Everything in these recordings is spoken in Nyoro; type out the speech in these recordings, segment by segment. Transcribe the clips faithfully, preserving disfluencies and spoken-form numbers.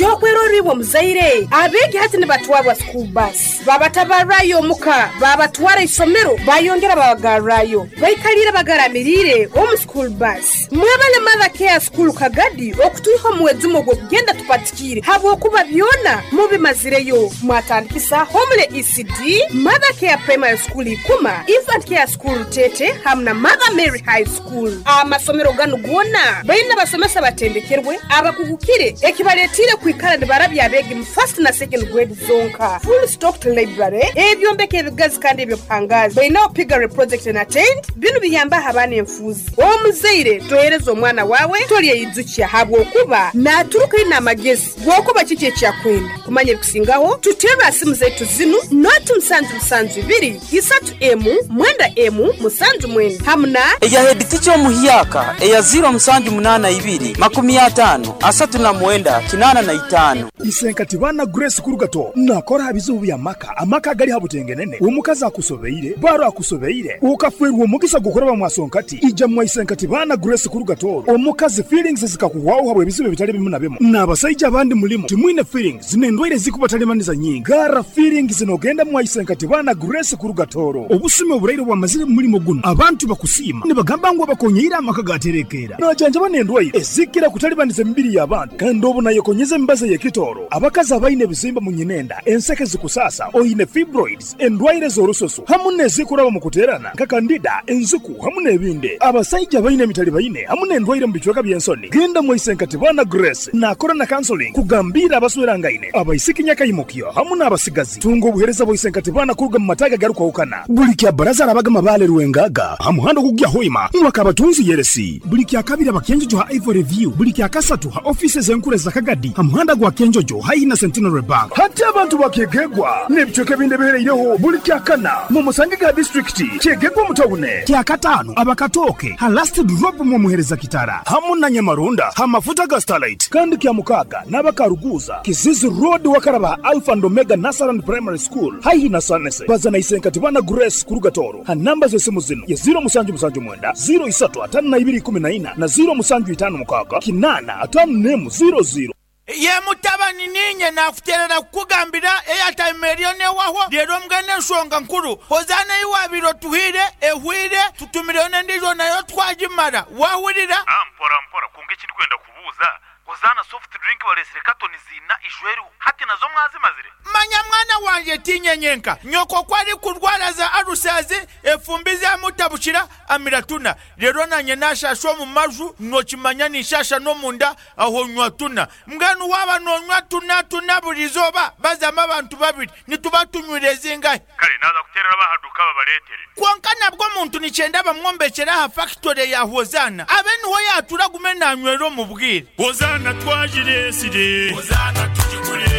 Kyokweroribwa omuzaire abeegi hati nibatwarwa school bus, babatabarrayo omuka, babatwara isomero, bayongera babagarrayo, baikalire bagaramiriire omu school bus. Mwebale Mother Care School Kagadi okutwiha omuwezumo ogw'okugenda tupatikiire habwokuba byona mubimazireyo. Mwatandikisa Homule E C D, Mother Care Primary School Ikuma, Infant Care School Tete hamu na Mother Mary High School. Amasomero ganu gona baina basomesa batendekerwe abakugukire ekibaletire kwikara nibarabya abeegi mu first na second grade zonka. Full stocked library, ebyombeko ebigazi kandi ebyobuhangazi. Baina piggery project na tent, binu biyamba abaana enfuuzi. Omuzaire tohereza omwana wawe tolyeyijukya habwokuba naturuka ina amagezi gwokuba kiki ekyakwenda. Kumanya ebikusingaho tutera simu zaitu zinu noti musanju musanju ibiri isatu emu mwenda emu musanju mwenda hamuna eya head teacher omuhyaka eya zero musanju munana ibiri makumi atano asatu na mwenda kinana na itano. Isenkati bana Grace Kurugato nakora bizibu bya maka amaka gali habutengenene omukazi akusobeire baro akusobeire ukafwerwa omugisa gukora bamwasonkati ija mwa Isenkati bana Grace Kurugato omukazi feelings zikakuwaho habwe bizibu bitali bimu na bimu n'abasajja abandi mulimo timwine feelings zinendwaire zikubatalemaniza nyingi gara feelings zinogenda mwa Isenkati bana Grace Kurugatoro obusime oburaire bwamazire mulimo guno abantu bakusima nibagamba ngo bakonyeira amaka gaterekera najanja banendwaire ezikira kutalibaniza emibiri y'abantu kandi obu nayekonyeza embaza y'ekitoro abakazi abaine ebizimba mu nyinenda enseke zikusasa oyine fibroids endwaire z'orususu hamu n'ezikuraba mu kuterana nka kandida enzuku hamu n'ebindi abasajja baine emitali baine hamu n'endwaire mu bicweka by'ensoni genda mu Isenkati bana Grace nakora na counseling kugambira abaswerangaine abaisiki nyakayimukyo hamu n'abasigazi tunga obuhereza bwa Isenkati bana kuruga mu mataga garukwahukana buli kya baraza arabaga mabale rwengaga hamuhando kugya hoima mwakabatunzi yeresi buli kya kabiri abakenjojo ha Ivory View buli kya kasatu ha offices enkure za Kagadi hamuhanda gwa Kenjojo haina Centenary Bank hati abantu bakegegwa n'ebicweka ebindi bihereireho buli kya kana mu musange ga district kyegegwa mutawune kya katano abakatoke ha last drop mu muhereza kitara hamu na Nyamarunda ha mafuta ga Starlight kandi kya mukaga n'abakaruguza Kizizi Road wakaraba Alpha and Omega Nasaran Primary School haihi na Sanese bazana Isenkati bana Grace Kurugatoro ha namba z'esimu zino ya zero musanju musanju mwenda zero isatu atano na ibiri kumi na ina na zero musanju itano mukaga kinana atano nemu zero zero. Ye mutabani ninye nakuterera kukugambira eyatime eriyo newaho rero mbwene ensonga nkuru hozana iwabiro tuhire ehwire tutumireyo n'endijo nayo twagimara wahurira. Ah, mpora mpora kunga ekindi kwenda kubuuza hozana soft drink balesire katoni zina ijweru hati nazo mwazimazire. Manya mwana wanje tinyenyenka nyoko kwari kurwara za arusazi efumbi zamutabukira amiratuna rero nanye nashasha mu maju nokimanya nishasha no munda aho nywa tuna mbwenu waba nonywa tuna tuna burizoba bazama abantu babiri nituba tunywire zingahe. Kale naza kuterera bahaduka babaletere konka nabwo muntu nicyenda bamwombekera ha factory ya Hozana abe niho yatura gume nanywero mu bwire. Hozana twajiresire Hozana tujigure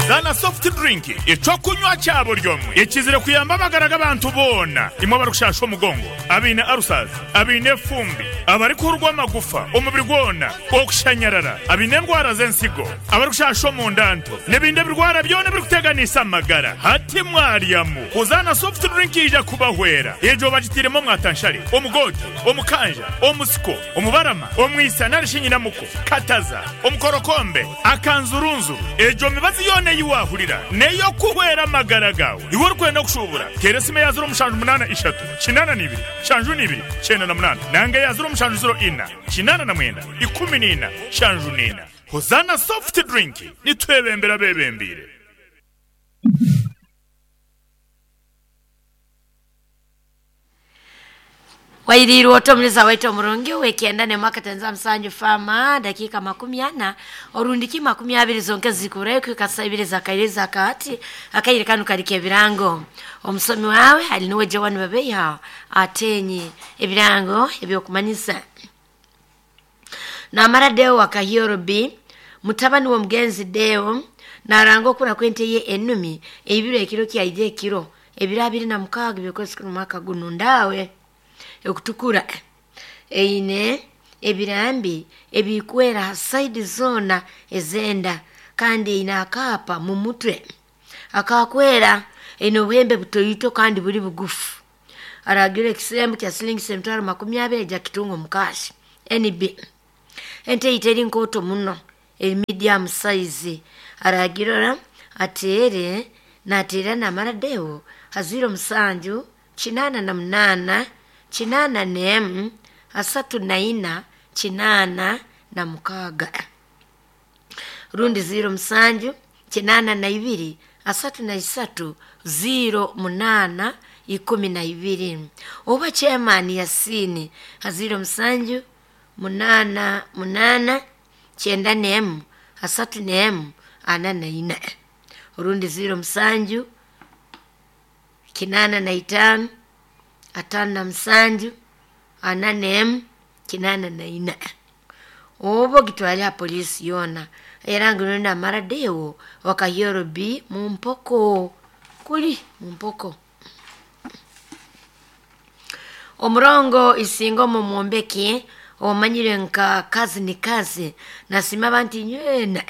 Zana soft drink ecokunywa cyabo ryomwe ekizire kuyamba amagara g'abantu bona imwe barukushasha omugongo abine arusazi abine fumbi abari kurwa amagufa omubiri gwona okushanyarara abine ndwara z'ensigo abarikushasha omundanto n'ebindi ebirwara byona birikuteganisa amagara hati mwaryamu. Hozana soft drink ija kubahwera ejo bagitiremo mwatanshari omugote omukanja omusiko omubarama omwisa narishinyinamuko kataza omukorokombe akanzurunzuru ejo mibazi yone yiwahurira neyo kuhwera amagara gawe iwe urikwenda kushubura teresime ya zero mushanju munana ishatu kinana nibiri shanju nibiri chenda na munana nange ya zero mushanju zero ina kinana na mwenda ikumi nina shanju nina. Hozana soft drink nitwebembera bebembire. Wairiru otomuleza waito omurungi wekienda ne mwaka tenza msanju fama dakika makumi ana orundiki makumi abiri zonke zikurayo kwikasa ibiri zakairiza kati akaire kanu karike ebirango omusomi wawe ali niwe Joan Babeya atenyi ebirango ebyokumanyisa namara deo wakahiyoro b mutabani wa mugenzi deo narango kura kwente ye enumi ebiro ekiro kyaije ekiro ebiro abiri na mukaaga byokwezi kuno mwaka guno ndawe ekutukura eine ebirambi ebikwera side zona ezenda kandi ina akapa mu mutwe akakwera ino buhembe butoyito kandi buri bugufu aragira ekisembu kya silingi semitwaro makumi abiri ja kitungo mukashi N B ente iteri nkoto muno Medium size aragirora atere nateera namara deo haziro musanju chinana na munana chinana nemu asatu na ina chinana na mukaga rundi ziro musanju chinana na ibiri asatu na isatu ziro munana ikumi na ibiri oba chairman Yasini haziro musanju munana munana chenda nemu asatu nemu ana na ina urundi ziro musanju kinana na itano atano na musanju ana nemu kinana na ina obo gitwalya polisi yona era ngino namara dewo wakayoro bi mumpoko kuli mumpoko omurongo isinga omu mwombeki omanyire nka kazi ni kazi nasima abantu nywena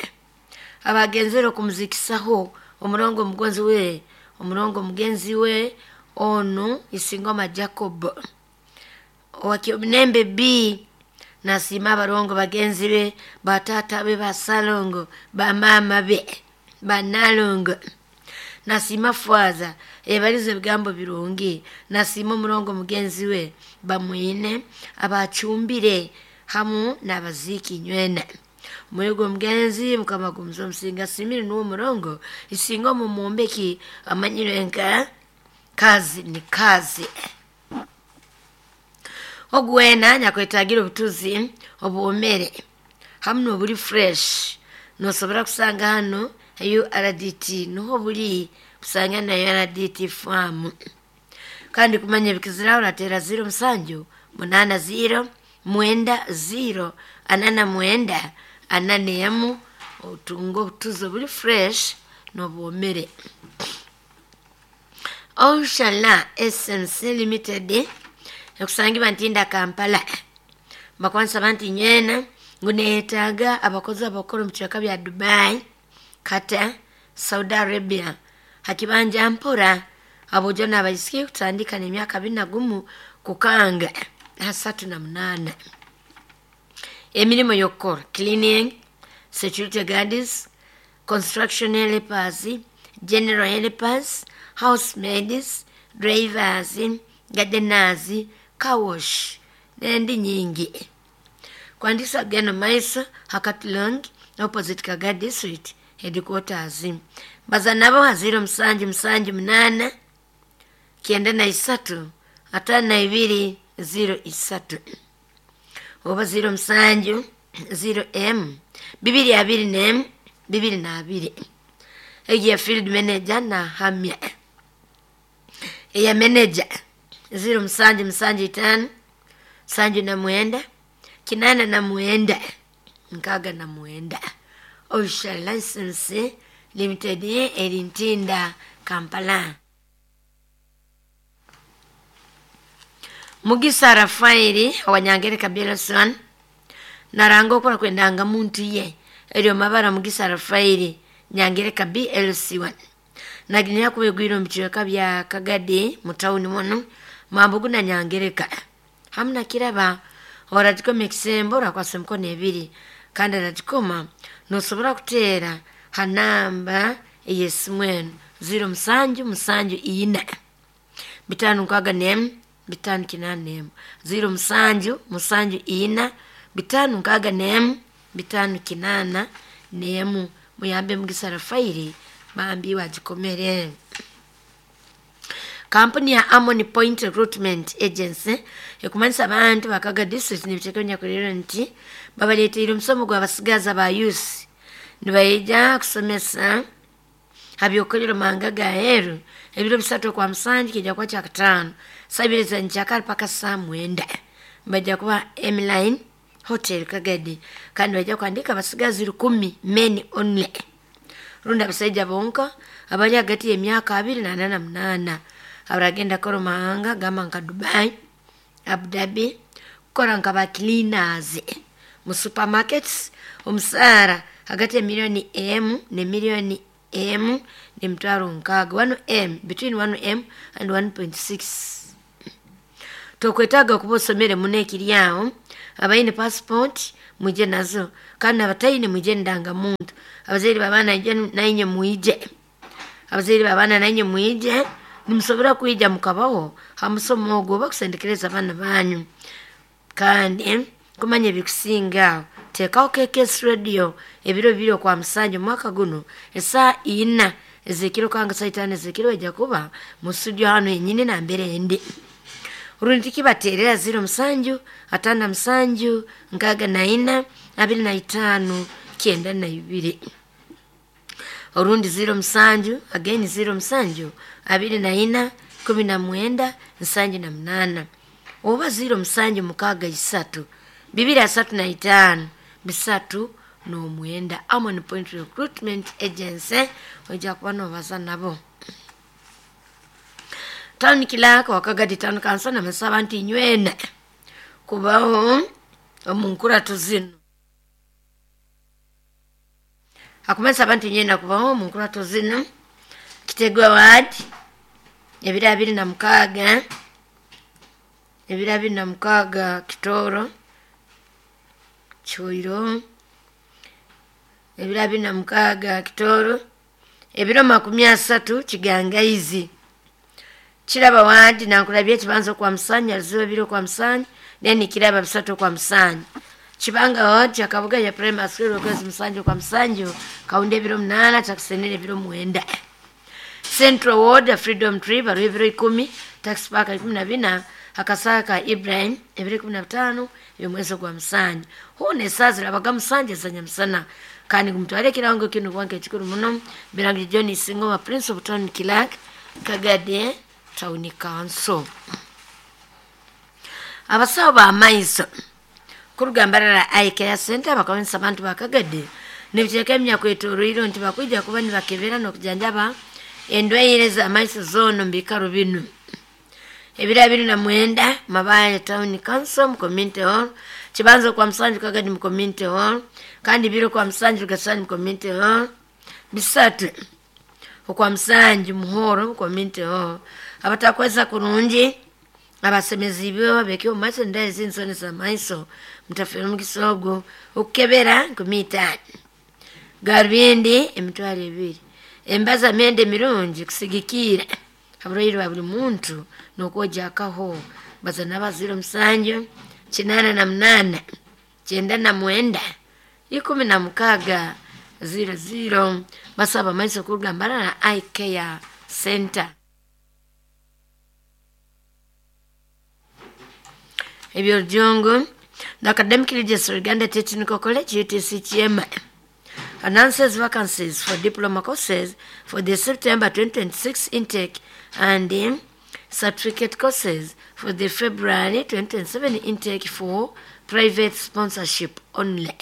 abagenzere okumuzikisaho omurongo omugonzi we omurongo omugenzi we onu isingoma Jacob owakiomunembe B nasima abarongo bagenzi be batata be basalongo bamama be banalongo nasima fwaza ebalize ebigambo birungi nasima omurongo mugenzi we bamwine abacumbire hamu n'abaziki nywena mwigo mugenzi mukama gumuza omusinga simire nuwo murongo isinga omu mwombeki amanyire nka kazi ni kazi ogwena nyakwetagira obutuzi obuwomere hamu n'obuli fresh nosobora kusanga hano U R D T nuho buli kusanga na U R D T farm kandi kumanya ebikizira uratera ziro musanju munana ziro mwenda ziro anana mwenda anane emu otunga obutuzi obuli fresh n'obuwomere. Oshala S M C Limited ekusangibwa Ntinda Kampala bakwanisa banti nywena ngu neetaaga abakozi abakora omu bicweka bya Dubai, Qatar, Saudi Arabia hakibanja mpora abojo n'abaisiki kutandika n'emyaka abiri na gumu kukanga asatu na munana. Emirimu y'okukora cleaning, security guards, construction helpers, general helpers, housemaids, drivers, gardeners, car wash n'endi nyingi. Kwandisa geno maiso Hakatlong opposite Kaga district headquarters. Baza nabo haziro musanju musanju munana kienda na isatu atano na ibiri ziro isatu oba ziro musanju ziro m bibiri abiri nem bibiri na abiri. Eya field manager na hamya eya manager ziro musanju musanju itano sanju na mwenda kinana na mwenda nkaga na mwenda. Osha License Limited eri Ntinda Kampala. Mugisa Rafaeli owanyangereka Belson naranga okora kwendanga muntu ye eryo mabara Mugisa Rafaeli Nyangereka B L C one naginya kubegwira mu bicweka bya Kagadi mu town muno mambugu na Nyangereka hamna kiraba oragikoma ekisembo orakwasa emikono ebiri kandi aragikoma nosobora kuteera ha namba ey'esimu enu ziro musanju musanju ina bitano nkaaga nemu bitano kinana nemu ziro musanju musanju ina bitano nkaaga nemu bitano kinana nemu muyambe Mugisa Rafaeli bambi wagikomere. Kampuni ya Amoni Point Recruitment Agency ekumanisa abantu bakaga district n'ebiteeka nyakurero nti babaleeteire omusomo gw'abasigazi aba youth nibaija kusomesa habyokolero manga ga heru ebiro bisatu kwa musanju kijja kuba kyakataano saa ibiri za nkyakara paka saa mwenda bajja kuba Emline Hotel Kagadi kandi bajja kuandika abasigazi rukumi men only rundi abasaija bonka abali hagati y'emyaka abiri na ana na munaana abaragenda kora mahanga gamba nka Dubai, Abu Dhabi kukora nka ba cleaners mu supermarkets omusaara hagati ya milioni emu ne milioni emu n'emitwaro nkaaga one M between one M and one point six. Tokwetaaga okuba osomere muno ekiri aho abaine passport mwije nazo, kandi abataine mwije ndangamuntu. Abazaire b'abaana nainye mwije, abazaire b'abaana nainye mwije, nimusobora kwija mukabaho ha musomo ogwo oba kusendekereza abaana banyu. Kandi kumanya ebikusinga teekaho K K S Radio ebiro bibiri okwa musanju omwaka guno esaa ina ezekiro kanga saa itaano ezekiro ejja kuba mu studio hano yenyini nambere endi. Rundi tikibateerera ziro musanju ataano na musanju nkaaga na ina abiri na itaano kyenda na ibiri. Orundi ziro musanju again ziro musanju abiri na ina kumi na mwenda nsanju na munana. Oba ziro musanju mukaaga isatu bibiri asatu na itaano bisatu n'omwenda. Amon Point Recruitment Agency ojja kuba n'obaza nabo. Town Clerk wa Kagadi Town Council namusaba nti nywena kubaho omu nkurato zino. Akumensaba nti nywena kubaho omu nkurato zino. Kitegwa ward ebiro abiri na mukaaga, ebiro abiri na mukaaga Kitoro Choiro, ebiro abiri na mukaaga Kitoro, ebiro makumi asatu Kigangaizi. Kiraba wadi nankulabye ekibanza okwa Musanyu, Aruziba bibiri okwa Musanyu, then Kiraba bisatu okwa Musanyu. Kibanga wadi Kyakabuga ya primary school okwezi Musanju okwa Musanju, Kaunda ebiro munaana, Kyakusenera ebiro mwenda. Central Ward Freedom Tree baruwa ebiro ikumi, Tax Park ikumi na bina, Akasaka Ibrahim ebiro ikumi na bitaano eby'omwezi ogwa Musanju. Hoona esaaha zirabaga Musanju ezanyamusana. Kandi gumutware ekirango kinu kubanga ekikuru muno. Birangi John Singoma Prince of Town Clerk Kagadi Town Council. Abasawo b'amaiso kurugambarara Eye Care Center bakabonesa abantu ba Kagadi nibiteeka emyaka etoroire nti bakwija kuba nibakebera n'okujanjaba endwaire z'amaiso zoona omu biikaro binu. Ebiro abiri na mwenda Mabaare Town Council mu Community Hall, Kibanza kwa Musanju Kagadi mu Community Hall, kandi biro kwa Musanju Gasani mu Community Hall, bisatu okwa Musanju Muhoro mu Community Hall. Abatakweza kurungi abasemezi bo abeke omu maiso endaye z'insoni z'amaiso mutafere omukisa ogwo okukebera nkumi itaano, garubindi emitwaro ebiri, embaza myenda emirungi kusigikiira aburwaire bwa buli muntu n'okwojakaho. Baza n'abaziro musanju kinaana na munaana kyenda na mwenda ikumi na mukaaga ziro ziro. Basaba amaiso kuruga na Eye Care Center. Ebyorujungu, the Academic Leaders Uganda Technical College U T C Kyema announces vacancies for diploma courses for the September twenty twenty-six intake and um, certificate courses for the February twenty twenty-seven intake for private sponsorship only.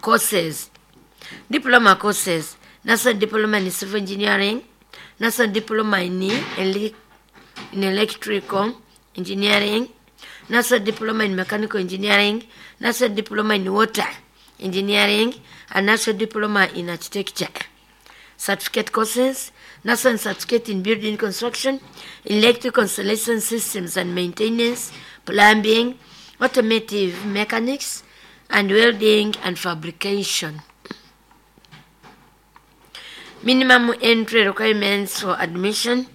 Courses: diploma courses, National Diploma in Civil Engineering, National Diploma in, Ele- in Electrical Engineering, National Diploma in Mechanical Engineering, National Diploma in Water Engineering, and National Diploma in Architecture. Certificate courses, National Certificate in Building Construction, Electrical Installation Systems and Maintenance, Plumbing, Automotive Mechanics, and Welding and Fabrication. Minimum entry requirements for admission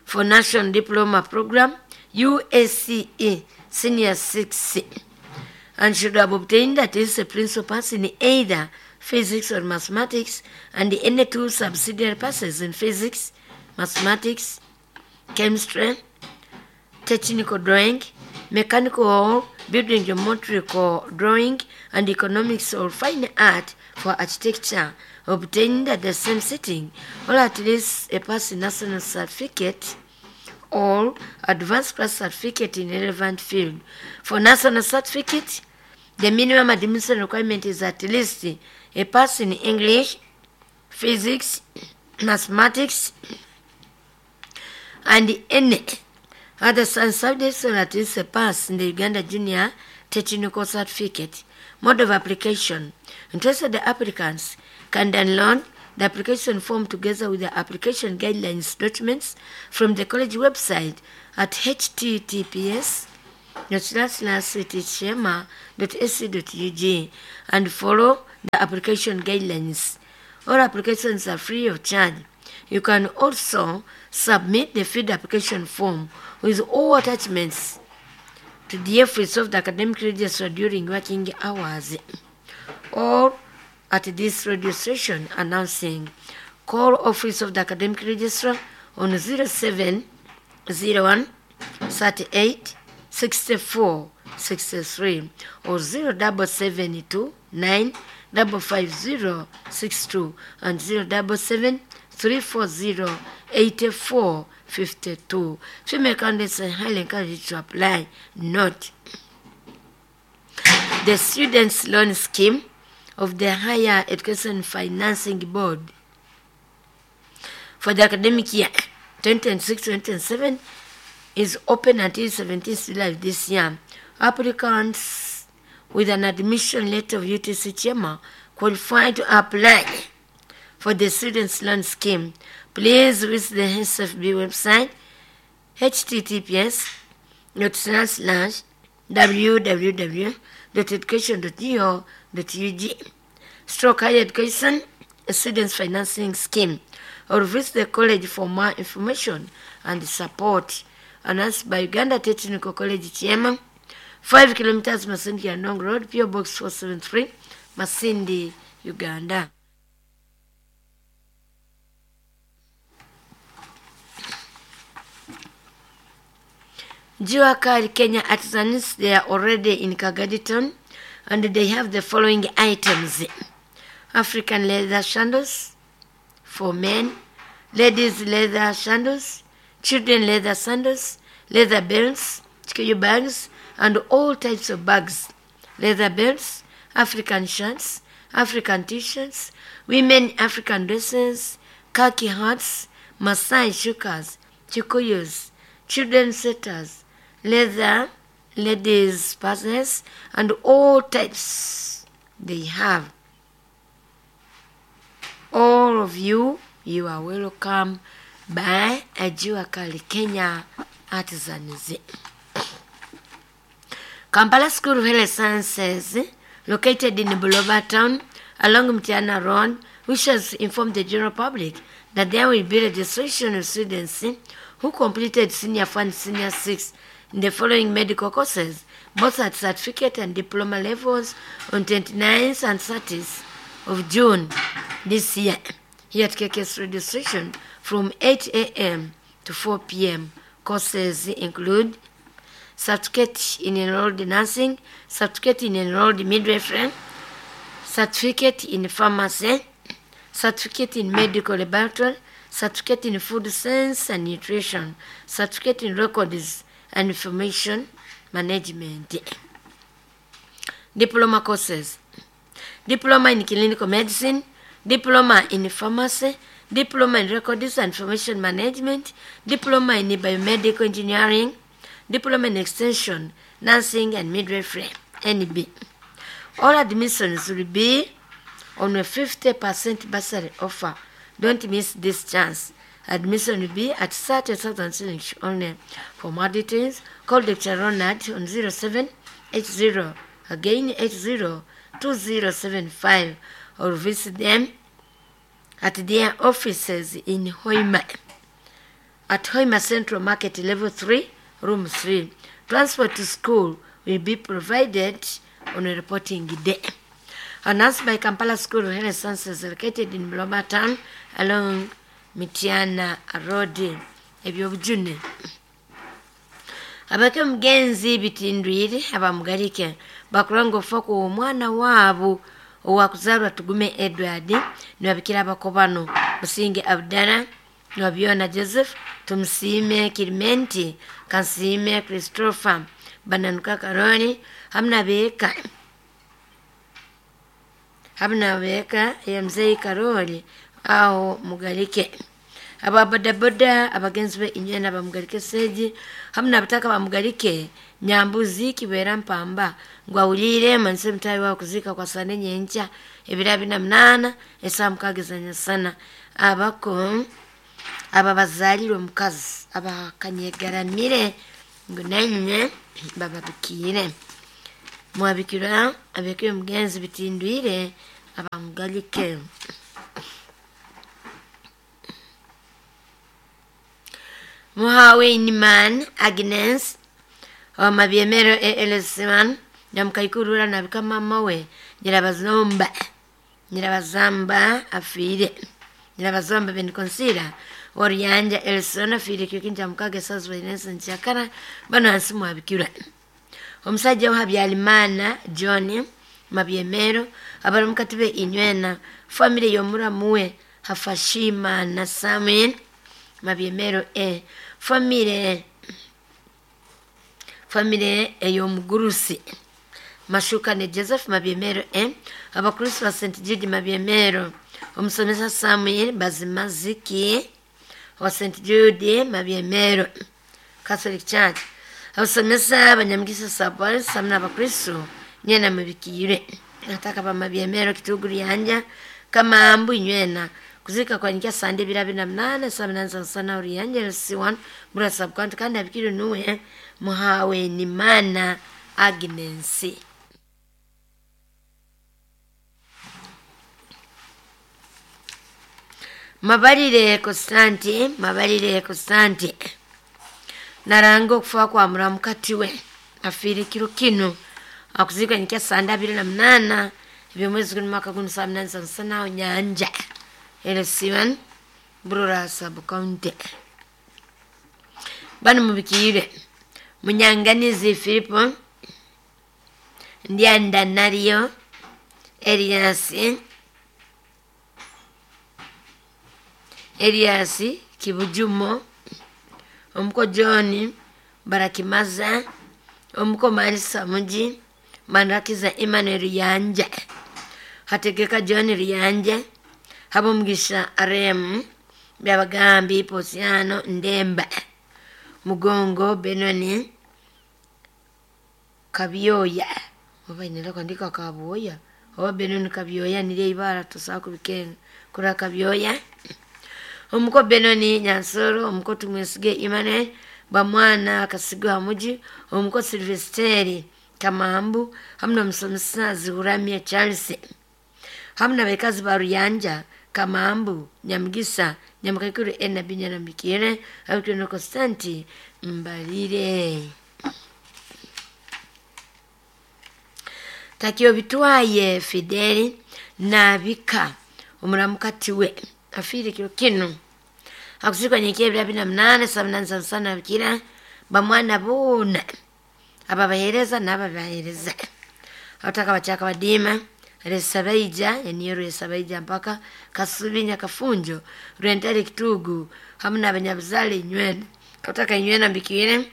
for National Diploma Program, U S C E Senior six, and should have obtained at least a principal pass in either physics or mathematics and any two subsidiary passes in physics, mathematics, chemistry, technical drawing, mechanical or building geometrical drawing, and economics or fine art for architecture obtained at the same sitting, or at least a pass in national certificate or advanced class certificate in relevant field. For national certificate, the minimum admission requirement is at least a pass in English, physics, mathematics, and any other science subjects, or at least a pass in the Uganda Junior Technical Certificate. Mode of application. Interested applicants can download the application form together with the application guidelines documents from the college website at https dot slash slash tchema dot ac dot ug and follow the application guidelines. All applications are free of charge. You can also submit the feed application form with all attachments to the office of the academic registrar during working hours or at this radio station announcing. Call office of the academic registrar on zero seven zero one thirty-eight sixty-four sixty-three or zero double seven two nine double five zero six two and zero double seven three four zero eighty-four fifty-two. Female candidates are highly encouraged to apply. Note, the Students' Loan Scheme of the Higher Education Financing Board for the academic year twenty twenty-six twenty twenty-seven is open until seventeenth July this year. Applicants with an admission letter of U T C Chema qualify to apply for the Students' Loan Scheme. Please visit the S F B website H T T P S dot slash slash w w w dot education dot g o dot u g stroke higher education students financing scheme or visit the college for more information and support. Announced by Uganda Technical College Chairman, five kilometers Masindi Andong Road, P O Box four seven three, Masindi, Uganda. Juakari Kenya artisans, they are already in Kagadi town and they have the following items: African leather sandals for men, ladies leather sandals, children leather sandals, leather belts, chikiyu bags, and all types of bags, leather belts, African shirts, African t-shirts, women African dresses, khaki hats, Maasai shukas, chikuyus, children's sweaters, leather, ladies' purses, and all types they have. All of you, you are welcome by Ajuakali Kenya Artisans. Kampala School of Health Sciences, located in Buloba Town along Mtiana Road, wishes to inform the general public that there will be registration of students who completed Senior one, Senior six in the following medical courses, both at certificate and diploma levels, on twenty-ninth and thirtieth of June this year, here at K K S Radio Station from eight A M to four P M. Courses include certificate in enrolled nursing, certificate in enrolled midwifery, certificate in pharmacy, certificate in medical laboratory, certificate in food science and nutrition, certificate in records and information management. Diploma courses: diploma in clinical medicine, diploma in pharmacy, diploma in records and information management, diploma in biomedical engineering, diploma in extension, nursing and midwifery, N B. All admissions will be on a fifty percent bursary offer. Don't miss this chance. Admission will be at thirty thousand shillings only. For more details, call Doctor Ronald on zero seven eight zero, again eight zero two zero seven five, or visit them at their offices in Hoima, at Hoima Central Market, Level three, Room three. Transport to school will be provided on a reporting day. Announced by Kampala School of Health Sciences, located in Buloba Town along Mitiana Road. Ebyobujune. Abake mugenzi bitindwire abamugarike bakuranga ofa ku omwana waabo owakuzaalwa Tugume Edward nibabikira abakobano Musinge Abdala Niwabyona Joseph Tumusiime Kirimenti Kansiime Christopher Bananuka Karoli hamna beeka hamna beeka ya mzee Karoli aho mugarike ababodaboda abagenzi be inyena bamugarike seji hamna abataka bamugarike Nyambuzi Kibera Mpamba ngwawulire manse mtayi wa kuzika kwa sane nyencha ebira bina mnana esa mukagezanya sana abako aba bazalirwe mukazi abakanyegaramire Ngu nanywe bababikire. Mwabikira abekire mugenzi bitindwire abamugalike. Muhawe Iniman Agnes wa Mabyemero E L C one nyamukaikurura nabika mama we Nyirabazomba Nyirabazamba afire Nyirabazomba benikonsira Oriyanja Elson afire kikinja mukage sazwa inensa nchakara bano hansi mwabikira. Omusajja wa Habyarimana John Mabyemero abari mukatibe inywena family yomuramuwe Hafashima na Samuel Mabyemero e family family eyomugurusi Mashuka ne Joseph Mabyemero e abakristo ba Saint Jude Mabyemero omusomesa Samuel Bazimaziki wa Saint Jude Mabyemero Catholic Church abasomesa abanyamugisa sabari samna abakristo nyena mubikire nataka ba Mabyemero kituguru yanja kama ambu inywena kuzika kwa nkia sande birabi na mnane sabinanza sana uriyanja L C one murasa bwantu kandi abikire nuwe muhawe ni mana Agnes. Mabarire Konstanti, Mabarire Konstanti. Narango kufa kwa muramukatiwe afire kiro kino akuzika nkia sande abiri na mnana ebyomwezi guno mwaka guno sabinanza sana nyanja L C one Burora sub county. Bano mubikire Munyanganizi Filipo Ndianda Nario Elias Elias Kibujumo Omuko John Barakimaza Omuko Marisa Muji Manrakiza Emmanuel Yanja Hategeka John Riyanja Habumugisha Arem Byabagambi Posiano Ndemba Mugongo Benoni Kabyoya oba inela kwandika Kabyoya oba Benoni Kabyoya nile ibara tusaku bikenga kura Kabyoya Omuko Benoni Nyansoro omuko Tumwesige Emmanuel Bamwana Kasigwa Muji omuko Silvesteri Kamambu hamna msomesa Zuhuramia Charles hamna bekazi baruyanja Kamambu Nyamgisa Nyamkakuru ena binya na mikire abikire Konstanti Mbalire. Takio bitwaye Fideli nabika umuramukatiwe afire kiro kino akuzikwa nyekie bila bina mnane sabinanza sana bikira bamwana bona ababahereza n'ababahereza abataka bachaka badima Resabaija yaniyo Resabaija mpaka Kasubinya Kafunjo Rwentare Kitugu hamwe n'abanyabuzale inywena kataka inywena mbikire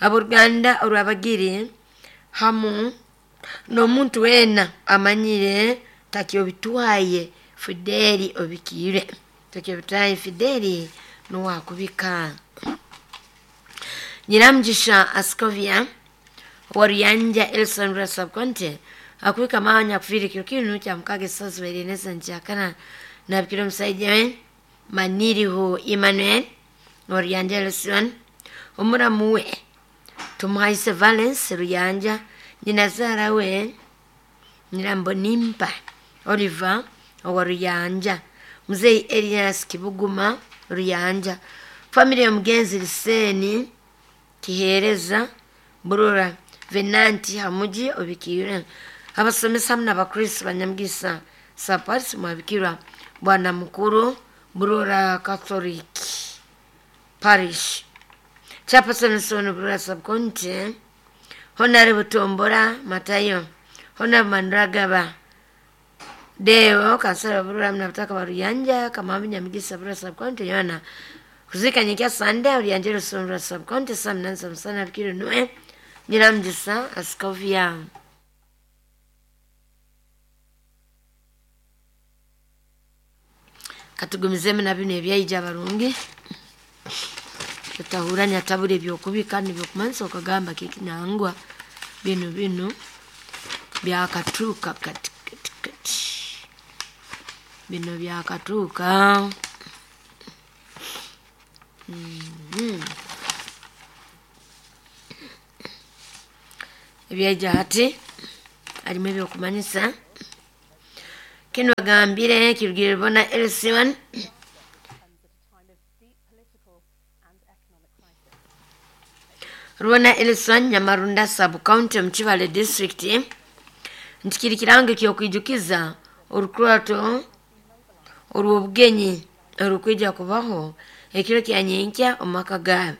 aboruganda orwabagiri hamu n'omuntu wena amanyire takyo bitwaye Fideli obikire takyo bitwaye Fideli nuwakubika. Nyiramjisha Askovia Wariyanja Elson Rasabkonte akuwika mawanya kufiri kiro cha mkage sasa ileneza njakana na bikiro msaidiwe Maniriho Emmanuel Wariyanja Elson omuramuwe Tumuhaise Valence Ruyanja Nyinazara we Nyirambonimpa Oliver Wariyanja Mzee Elias Kibuguma Ruyanja familia ya Mugenzi Liseni Kihereza Burura Venanti Hamuji obikire abasomesa hamwe n'abakristo banyamugisa Saparisi mwabikirwa Bwana Mukuru Burura Catholic Parish Chairperson Sono Burura Subcounty Honorable Tombora Matayo Honorable Mandragaba Deo kansala Burura mnataka baruyanja kama Nyamugisa Burura Subcounty yona kuzika nyikia Sunday ulianjero Burura Subcounty samnanza msana bikiro nuwe Nyiramjisa Askovia. Katugumizeme na bino ebyaija barungi tutahuranya tabure byokubika nibyokumansa okagamba kikinangwa bino bino byakatuka kati kati kati bino byakatuka mm -hmm. Ebyaija hati harimu ebyokumanyisa kinu agambire kirugire bona L C one Rubona L C one Nyamarunda sub county omu Kibale district nti kiri kirango ky'okwijukiza orukurato orw'obugenyi orukwija kubaho ekiro kya nyenkya omu maka gaabo.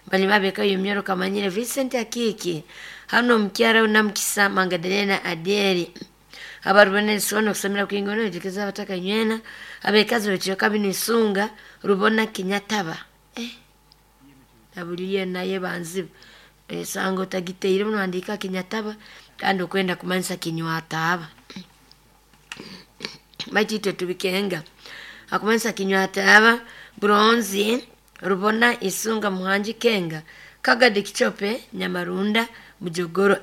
Bali babekayo omuyoro kamanyire Vincent Akiki hano omukyara Namukisa Mangadelena Aderi abarubona L C one okusomera kwingono ejukiza abataka nywena abekazi bekyoka bino isunga Rubona Kinyataba eh abuliye naye banzibu esango tagiteire muno andika Kinyataba kandi okwenda kumanyisa Kinywataba bachite tubikenga akumanyisa Kinywataba bronze Rubona Isunga Muhanji Kenga Kagadi Kichope Nyamarunda Mujogoro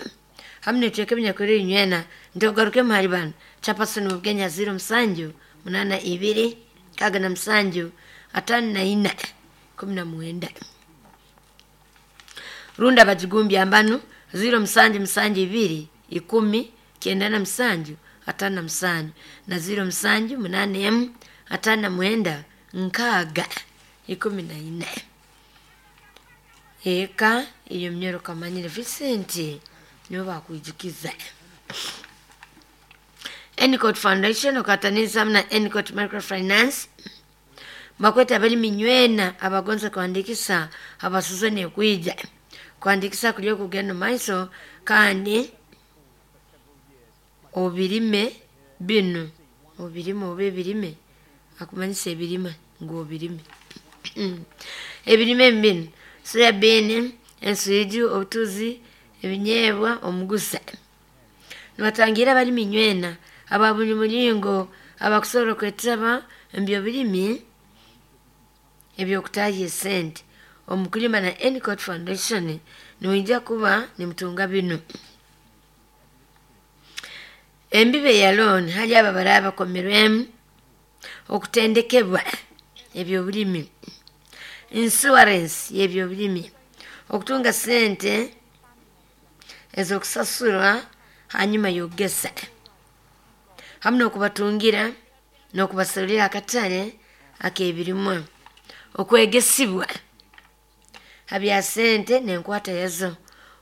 hamne tweke binyakorera inywena ndogaruke muhari bano chapasoni mubwenya zero musanju munana ibiri kaga na musanju atano na ina kumi na mwenda runda bajigumbya ambanu zero musanju musanju ibiri ikumi kenda na musanju atano na musanju na zero musanju munane emu atano na mwenda nkaga ikumi na ina eka iyo mnyoro kamanyire Vincent nibo bakwijukiza. Enicott Foundation okataniza na Enicott Microfinance bakweta bali minywena abagonza kuandikisa abasuzane kwija kuandikisa kulyo kugenda maiso kandi obirime bino obirime obe birime akumanyisa ebirima ngo obirime ebirime bino soya bean ensuiju obutuzi ebinyeebwa omugusa nibatangira bali minywena ababuli mulingo abakusobola okwetaba embyo birimi ebyokutaaha esente omukulima na Enicott Foundation niwija kuba nimutunga bino embibe ya loan hali aba baraba bakomerwemu okutendekebwa ebyobulimi insurance y'ebyobulimi okutunga sente ezokusasurwa hanyuma yogesa hamwe n'okubatungira n'okubasalira akatale ak'ebirimwa okwegesibwa habya sente n'enkwata yazo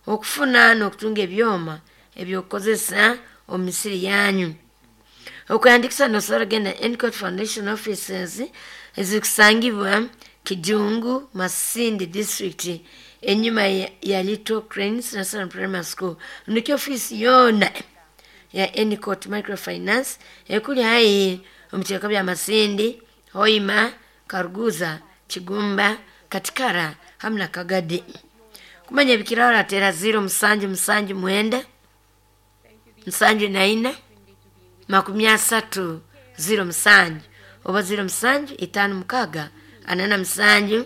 okufuna n'okutunga ebyoma ebyokukozesa omu misiri yanyu okwandikisa nosobola genda Enicott Foundation offices ezikusangibwa Kijungu Masindi district enyuma ya, ya Little Cranes National Primary School nikyo ofisi yona ya Enicott Microfinance ekuli hai omukyeka bya Masindi, Hoima, Karuguza, Kigumba, Katikara hamwe na Kagadi. Kumanya ebikirara tera zero musanju musanju mwenda musanju na ina makumi asatu zero musanju oba zero musanju itano mukaga anana musanju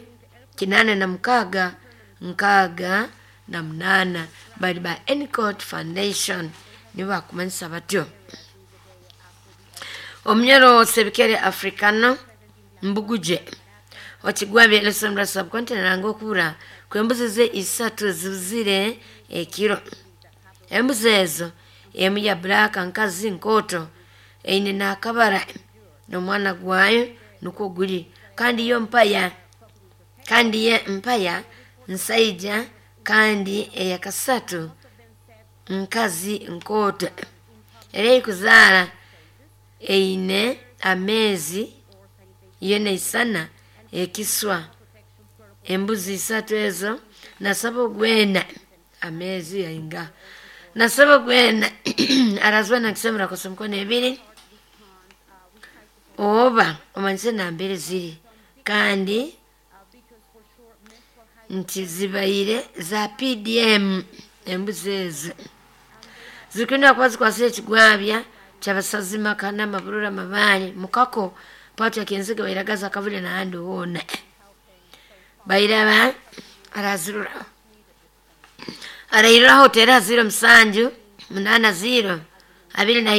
kinana na mukaga nkaga na munana bali ba Enicott Foundation nibo bakumanyisa batyo. Omunyoro Sebikere Africano Mbuguje okigwabye Lesson subcontinent nanga okubura kwembuzi ze isatu zibuzire ekiro embuzi ezo emu ya black nkazi nkoto eine nakabara n'omwana gwayo nukwo guli kandi yo mpaya kandi ye mpaya nsaija kandi eyakasatu nkazi nkoto era ekuzaara eine amezi yena isana ekiswa embuzi isatu ezo nasaba ogwena amezi yainga nasaba ogwena arazwa nakisemera kosa mikono ebiri oba omanyise nambere ziri kandi nti zibaire za P D M embuzi ezo zikwenda kuba zikwasire ekigwabya kyabasazi makana maburura mabale mukako patu yakenziga bairagaza kavule n'ahandi hoona bairaba arazirura arairiraho tera ziro musanju munana ziro abiri na ibiri.